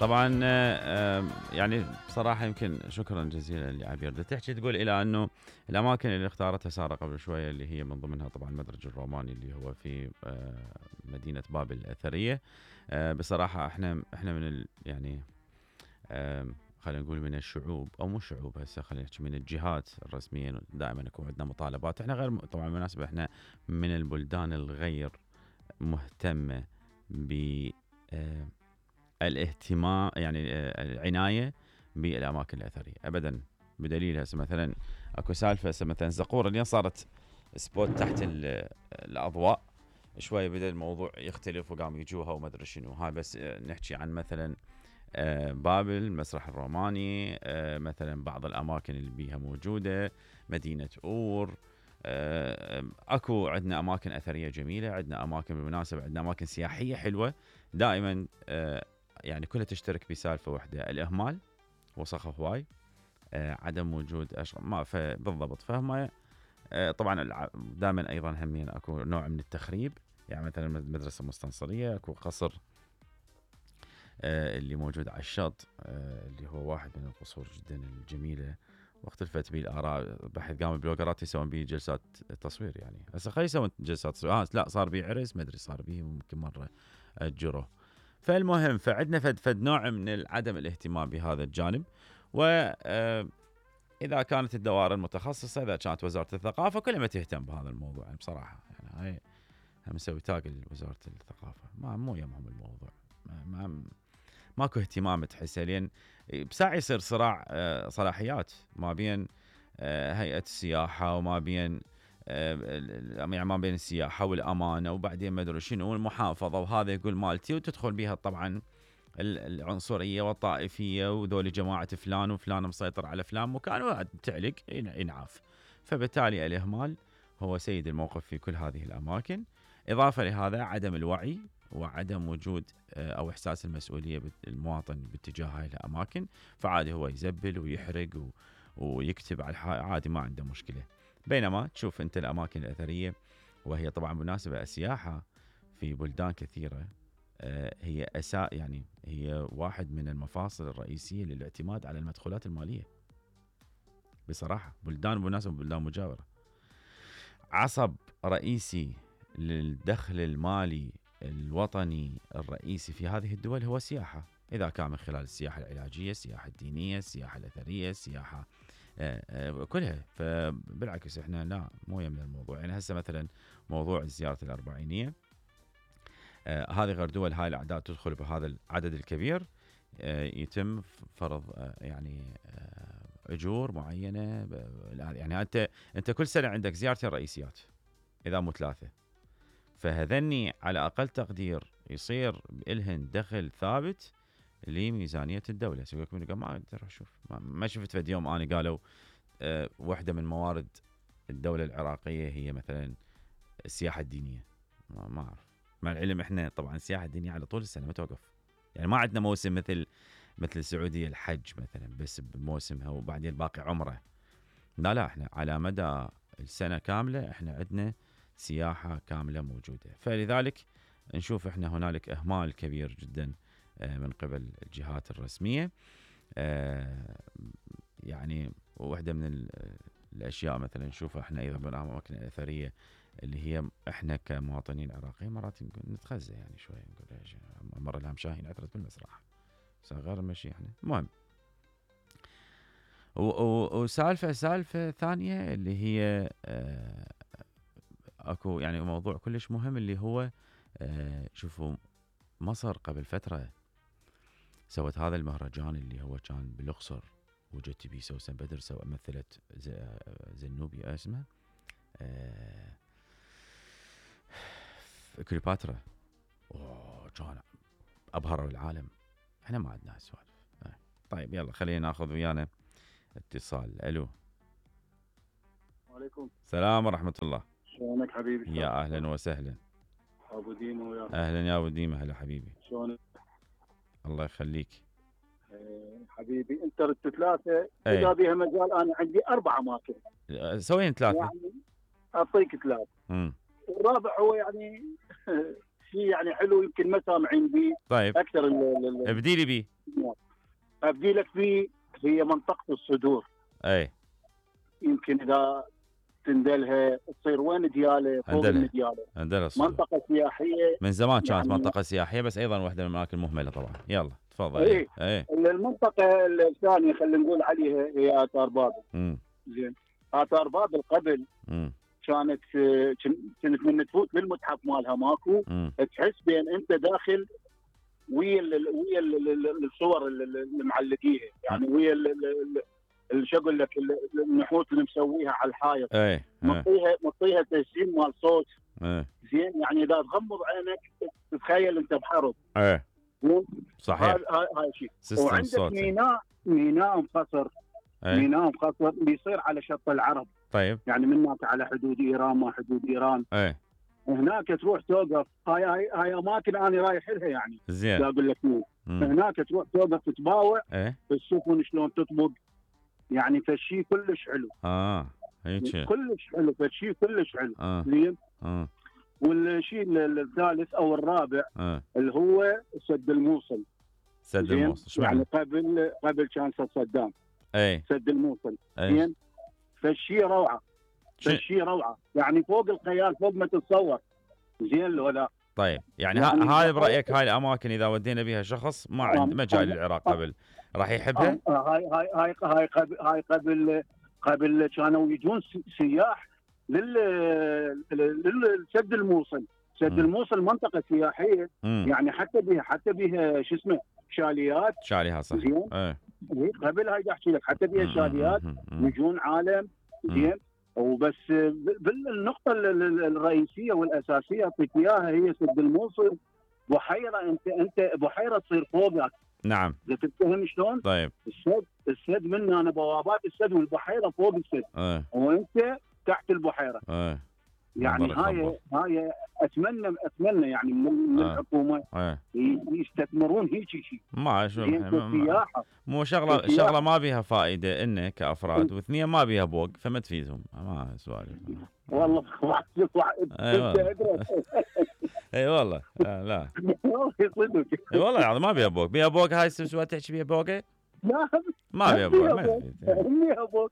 طبعا يعني بصراحه يمكن شكرا جزيلا لعبير. تحكي تقول الى انه الاماكن اللي اختارتها ساره قبل شويه اللي هي من ضمنها طبعا المدرج الروماني اللي هو في مدينه بابل الاثريه. بصراحه احنا من يعني خلينا نقول من الشعوب او مو شعوب، هسه خلينا نحكي من الجهات الرسميه دائما يكون عندنا مطالبات. احنا غير طبعا بالمناسبه احنا من البلدان الغير مهتمه ب الاهتمام، يعني العنايه بالاماكن الاثريه ابدا. بدليل هسه مثلا اكو سالفه هسه مثلا زقوره اليوم صارت سبوت تحت الاضواء شوي، بدا الموضوع يختلف وقاموا يجوها وما ادري شنو. هاي بس نحكي عن مثلا بابل، المسرح الروماني، مثلا بعض الاماكن اللي بيها موجوده، مدينه اور. اكو عندنا اماكن اثريه جميله، عندنا اماكن بالمناسبه، عندنا اماكن سياحيه حلوه دائما. يعني كلها تشترك بسالفه واحده، الاهمال وسخ هواي، عدم وجود ما بالضبط فهم. طبعا دائما ايضا همين اكو نوع من التخريب، يعني مثلا المدرسه المستنصريه اكو قصر اللي موجود على الشط، اللي هو واحد من القصور جدا الجميله، واختلفت به الاراء. بحيث قام البلوجرات يسوون به جلسات تصوير، يعني هسه خلي يسوون جلسات تصوير. لا صار به عرس، ما ادري صار به ممكن مره اجره. فالمهم فعندنا فد نوع من عدم الاهتمام بهذا الجانب. و اذا كانت الدوائر المتخصصه، اذا كانت وزاره الثقافه، كلها ما تهتم بهذا الموضوع يعني بصراحه. يعني هاي هم نسوي تاج لوزاره الثقافه، مو يمهم الموضوع، ماكو اهتمام تحسه، لين بساعة يصير صراع صلاحيات ما بين هيئة السياحة وما بين يعني ما بين السياحة والأمانة، وبعدين ما أدري شنو المحافظة، وهذا يقول مالتي، وتدخل بها طبعا العنصرية والطائفية، وذول جماعة فلان وفلان مسيطر على فلان مكان، وتعلق ينعاف. فبالتالي الإهمال هو سيد الموقف في كل هذه الأماكن. إضافة لهذا عدم الوعي وعدم وجود أو إحساس المسؤولية المواطن باتجاه هاي الأماكن، فعادي هو يزبل ويحرق ويكتب على عادي، ما عنده مشكلة. بينما تشوف أنت الأماكن الأثرية، وهي طبعا مناسبة السياحة في بلدان كثيرة، هي يعني هي واحد من المفاصل الرئيسية للاعتماد على المدخولات المالية بصراحة. بلدان بالمناسبة بلدان مجاورة، عصب رئيسي للدخل المالي الوطني الرئيسي في هذه الدول هو السياحة. إذا كان من خلال السياحة العلاجية، السياحة الدينية، السياحة الأثرية، السياحة كلها. فبالعكس إحنا لا مو يمنا الموضوع. يعني هسه مثلا موضوع زيارة الأربعينية، هذه غير دول هاي الأعداد تدخل بهذا العدد الكبير، يتم فرض يعني أجور معينة. يعني أنت كل سنة عندك زيارتين رئيسيات إذا مو ثلاثة، فهذني على أقل تقدير يصير إلهن دخل ثابت لميزانية الدولة. سيبك من ما أقدر أشوف، ما شفت في يوم أنا قالوا واحدة من موارد الدولة العراقية هي مثلا السياحة الدينية. ما أعرف، مع العلم إحنا طبعا السياحة الدينية على طول السنة ما توقف. يعني ما عندنا موسم مثل السعودية الحج مثلا بس بموسمها وبعدين الباقي عمره. لا احنا على مدى السنة كاملة احنا عندنا سياحة كاملة موجودة. فلذلك نشوف احنا هنالك اهمال كبير جدا من قبل الجهات الرسمية. يعني واحدة من الاشياء مثلا نشوفها احنا ايضا بالاماكن الاثرية اللي هي احنا كمواطنين عراقيين مرات نتخزى يعني شوي، نقول ايش مرة الهم شاهين عثرت بالمسرح غير مشي احنا. المهم وسالفة ثانية اللي هي اكو يعني موضوع كلش مهم اللي هو شوفوا مصر قبل فترة سوت هذا المهرجان اللي هو كان بالاقصر، وجت بيه سوسن بدر مثلت زنوبيا اسمها كليوباترا، كان ابهروا العالم. احنا ما عندنا هالسوالف. طيب يلا خلينا ناخذ ويانا اتصال. الو. وعليكم السلام ورحمة الله. شلونك حبيبي؟ يا اهلا وسهلا. ابو ديما وياك. اهلا يا ابو ديما، هلا حبيبي. شلونك؟ الله يخليك. حبيبي انت ردت ثلاثة، اذا بيها مجال انا عندي 4 اماكن. سوين 3 يعني اعطيك 3. الرابع هو يعني شيء يعني حلو يمكن ما سامعين به طيب اكثر. ابدي لي بيه. ابدي لك فيه، هي منطقه الصدور. اي يمكن اذا تندلها تصير وين دياله، فوق المدياله. عندنا الصدور منطقه سياحيه من زمان كانت يعني منطقه سياحيه، بس ايضا واحده من الاماكن المهمله طبعا. يلا تفضل. اي المنطقه الثانيه خلينا نقول عليها هي اثار بابل. زين، اثار بابل قبل كانت من تفوت بالمتحف مالها ماكو تحس بين انت داخل ويا الصور اللي معلقيها، يعني ويا شو اقول لك النحوت اللي مسويها على الحائط. مطيها تسجيل مال صوت. زين، يعني اذا تغمض عينك تتخيل انت بحرب. صحيح. هاي شيء. وعندك ميناء مخصر. ميناء مخصر بيصير على شط العرب. طيب يعني من هناك على حدود ايران، ما حدود ايران. هناك تروح توقف. هاي اماكن انا رايح لها يعني. زين. اقول لك هناك تروح توقف تتباوع السفن شلون تطبق، يعني فشي كلش حلو. هيك كلش حلو، فشي كلش حلو. زين. والشيء الثالث او الرابع اللي هو سد الموصل. سد الموصل يعني قبل كان صدام. سد الموصل. زين، فشي روعه. فشي روعه، يعني فوق الخيال، فوق ما تتصور. زين لو لا. طيب يعني هاي برايك هاي الاماكن اذا ودينا بها شخص ما عنده ما جاي للعراق قبل راح يحبها؟ هاي قبل كانوا يجون سياح للسد الموصل. سد الموصل منطقه سياحيه. يعني حتى بها شو اسمه شاليات صح. قبل هاي احكي لك حتى بها شاليات يجون عالم. زين، وبس بالنقطه الرئيسيه والاساسيه اعطيك اياها هي سد الموصل. بحيره، انت بحيره تصير فوقك. نعم. اذا تفهم شلون؟ طيب السد من انا بوابات السد والبحيره فوق السد. وانت تحت البحيره. يعني هاي اتمنى يعني من الحكومه يستثمرون هيك شيء. ما مو شغله ما بيها فائده انه كافراد، واثنين ما بيها بوق فما تفيدهم. ما سوالف والله. اي والله. لا والله العظيم ما بيها بوق. بيها بوق هاي سوى تحكي بيها بوقه؟ لا ما بيها بوق.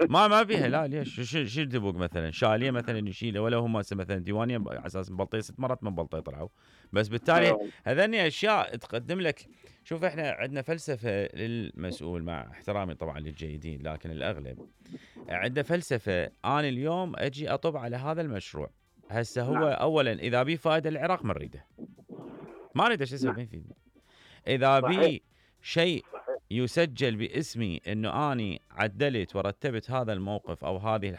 ما بيها. لا ليش؟ شو تبوق مثلا شاليه مثلا يشيله، ولا هم مثلا ديوانيه على اساس مبلطيه 6 مرات من بلطيه طلعوا. بس بالتالي هذني اشياء تقدم لك. شوف احنا عندنا فلسفه للمسؤول، مع احترامي طبعا للجيدين لكن الاغلب عنده فلسفه. انا اليوم اجي اطب على هذا المشروع هسه هو اولا اذا بيه فائده للعراق ما نريده. ما نريده. شو اسوي فيه؟ اذا بيه شيء يسجل باسمي انه اني عدلت ورتبت هذا الموقف او هذه